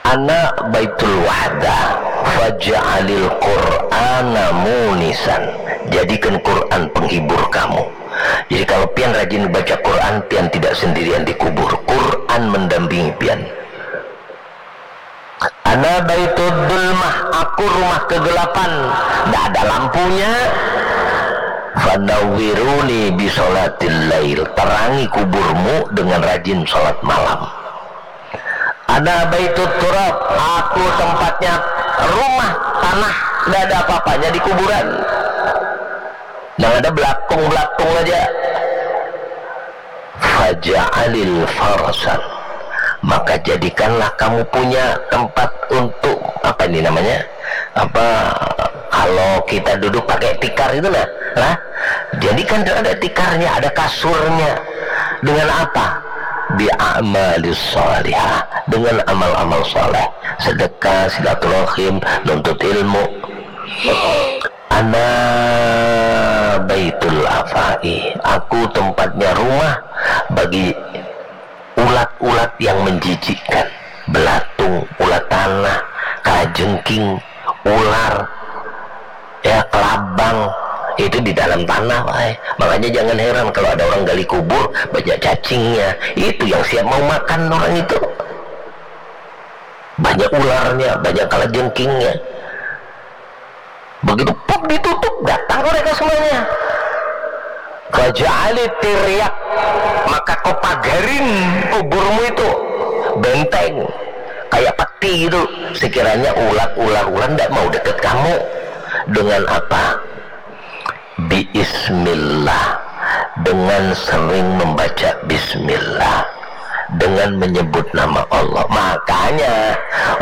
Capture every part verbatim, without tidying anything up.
Ana baitul wahdah, faj'alil Qur'ana munisan. Jadikan Quran penghibur kamu. Jadi kalau pian rajin baca Quran, pian tidak sendirian di kubur. Quran mendampingi pian. Ana baitul dulmah, aku rumah kegelapan, tidak ada lampunya. Fanawwiruni bisolatil lail, terangi kuburmu dengan rajin sholat malam. Ana baitut turab, aku tempatnya rumah tanah, tidak ada apa-apanya di kuburan. Yang ada belakung-belakung aja. Faja'alil farasan, maka jadikanlah kamu punya tempat untuk, apa ini namanya, apa, kalau kita duduk pakai tikar itu, nah, lah, jadi kan ada tikarnya, ada kasurnya. Dengan apa? Bi amalis salihah, dengan amal-amal saleh, sedekah, silaturahim, nuntut ilmu. Ana baitul afai, aku tempatnya rumah bagi ulat-ulat yang menjijikkan, belatung, ulat tanah, kalajengking, ular, ya, kelabang, itu di dalam tanah, wahai. Makanya jangan heran kalau ada orang gali kubur, banyak cacingnya. Itu yang siap mau makan orang itu. Banyak ularnya, banyak kalajengkingnya. Begitu pop ditutup, datang mereka semuanya. Faja'ali tiryak, maka kau pagarin kuburmu itu, benteng, kayak peti gitu. Sekiranya ulat, ular, ular ndak mau deket kamu. Dengan apa? Biismillah, dengan sering membaca bismillah, dengan menyebut nama Allah. Makanya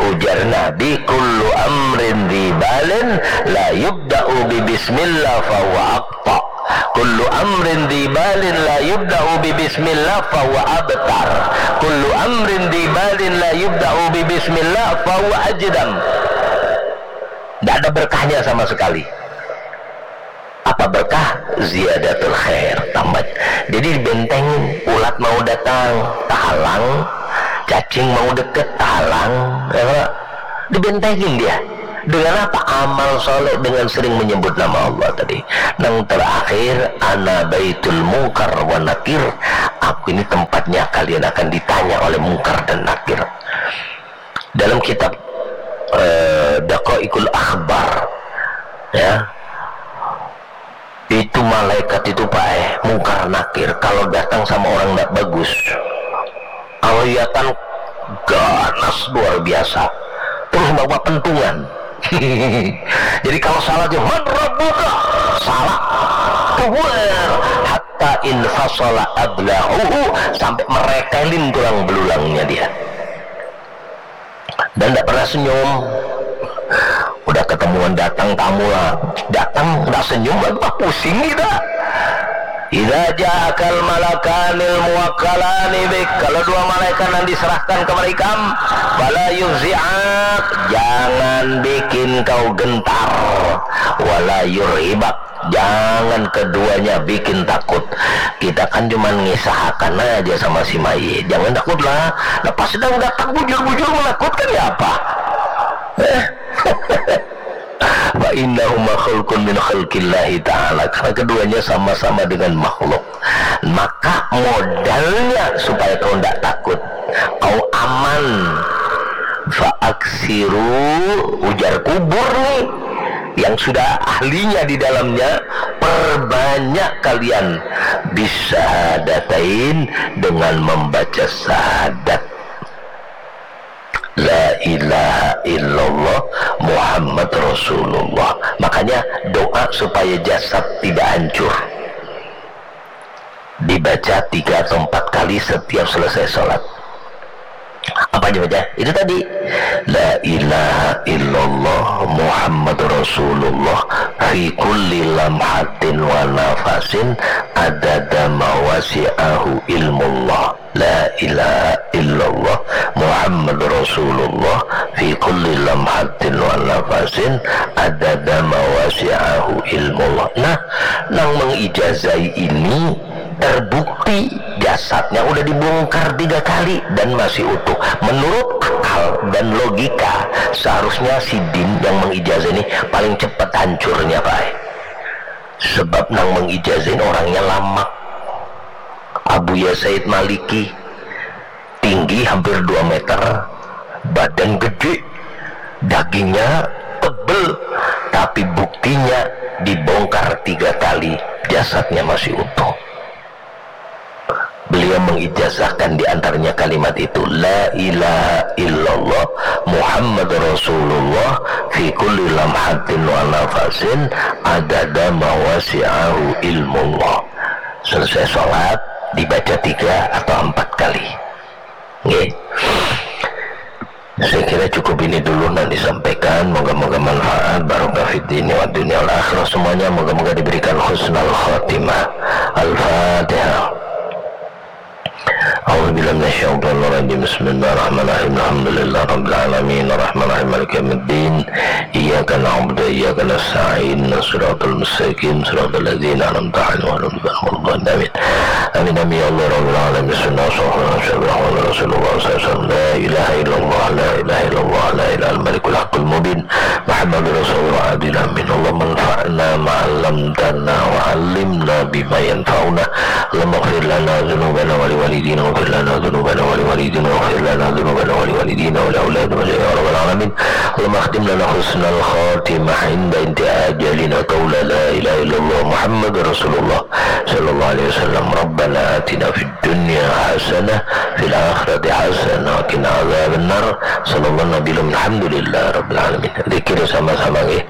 ujar Nabi, kullu amrin dibalin la yubda'u bi bismillah fahuwa aqta. Kullu amrin dibalin la yubda'u bi bismillah fahuwa abtar. Kullu amrin dibalin la yubda'u bi bismillah fahuwa ajdam. Tidak ada berkahnya sama sekali. Apa berkah? Ziyadatul khair, tambah. Jadi dibentengin, ulat mau datang, tahalang, cacing mau deket, tahalang, ya, dibentengin dia. Dengan apa? Amal soleh, dengan sering menyebut nama Allah tadi. Nang terakhir, ana baitul mungkar wa nakir, aku ini tempatnya kalian akan ditanya oleh mungkar dan nakir. Dalam kitab eh, Daqaiqul Akhbar, ya, itu malaikat itu, Pak, eh, Mungkar Nakir, kalau datang sama orang ndak bagus, kelihatan ganas luar biasa, terus bawa pentungan. Jadi kalau salah dia, "Man rabbuka?" Salah. Keluar. Hatta infasala ablahuhu, sampai meretelin tulang belulangnya dia. Dan tidak pernah senyum. Udah ketemuan, datang tamu lah, datang tidak senyum lagi, wah, pusing kita. Idza ja'akal malakanil muwakkalani bik, kalau dua malaikat yang diserahkan kepada ikam, fala yufzi'ak, jangan bikin kau gentar, wala yurhibak, jangan keduanya bikin takut. Kita kan cuma ngisahakan aja sama si mayit, jangan takutlah. Nah, pas sedang datang bujur-bujur menakutkan, ya apa? Eh. Fa innahuma khalqun min khalqillahi ta'ala, karena keduanya sama-sama dengan makhluk. Maka modalnya supaya kau tidak takut, kau aman, fa aksiru, ujar kubur nih yang sudah ahlinya di dalamnya, perbanyak kalian bisyahadatain, dengan membaca syahadat. La ilaha illallah Muhammad Rasulullah. Makanya doa supaya jasad tidak hancur dibaca tiga atau empat kali setiap selesai sholat. Apa aja baca? Itu tadi. La ilaha illallah Muhammad Rasulullah fi kulli lamhatin wa nafasin adada ma wasi'ahu ilmullah. La ilaha illallah Muhammad Rasulullah fi kulli lamhatin wa nafasin adada ma wasi'ahu ilmullah. Nah, nang mengijazai ini terbukti jasadnya udah dibongkar tiga kali dan masih utuh. Menurut akal dan logika, seharusnya sidin yang mengijazah ini paling cepat hancurnya, Pak. Sebab nang mengijazah ini orangnya lamak. Abuya Said Maliki, tinggi hampir dua meter, badan gede, dagingnya tebel, tapi buktinya dibongkar tiga kali, jasadnya masih utuh. Beliau mengijazahkan di antaranya kalimat itu, "La ilaha illallah Muhammad Rasulullah fi kulli lamhatin wa nafasin adada ma wasi'ahu ilmullah." Selesai sholat, dibaca tiga atau empat kali. Nggih. Saya kira cukup ini dulu yang disampaikan. Moga-moga manfaat, barokah fid dini wa dunia wal akhirah semuanya. Moga-moga diberikan husnul khatimah. Al-Fatihah. أعوذ بالله من الشيطان الرجيم. بسم الله الرحمن الرحيم. الحمد لله رب العالمين. الرحمن الرحيم. مالك يوم الدين. إياك نعبد وإياك نستعين. الصراط المستقيم. صراط الذين أنعمت عليهم غير المغضوب عليهم ولا الضالين. آمين. آمين، آمين يا الله رب العالمين. بسم الله الرحمن الرحيم. رسول الله صلى الله عليه وسلم. لا إله إلا الله، لا إله إلا الله، لا إله إلا الملك الحق المبين. محمد رسول الله، العبد الأمين. اللهم انفعنا ما علمتنا وعلمنا بما ينفعنا. اللهم اغفر لنا ذنوبنا ولوالدينا، واغفر لنا ذنوبنا ولوالدينا، واغفر لنا ذنوبنا ولوالدينا ولأولادنا يا رب العالمين. اللهم اختم لنا حسن الخاتمة عند انتهاء أجلنا قول لا إله إلا الله محمد رسول الله صلى الله عليه وسلم. ربنا آتنا في الدنيا حسنة وفي الآخرة حسنة وقنا عذاب النار. صلى الله على النبي الأمي. الحمد لله رب العالمين. Zikir sama-sama, nggih.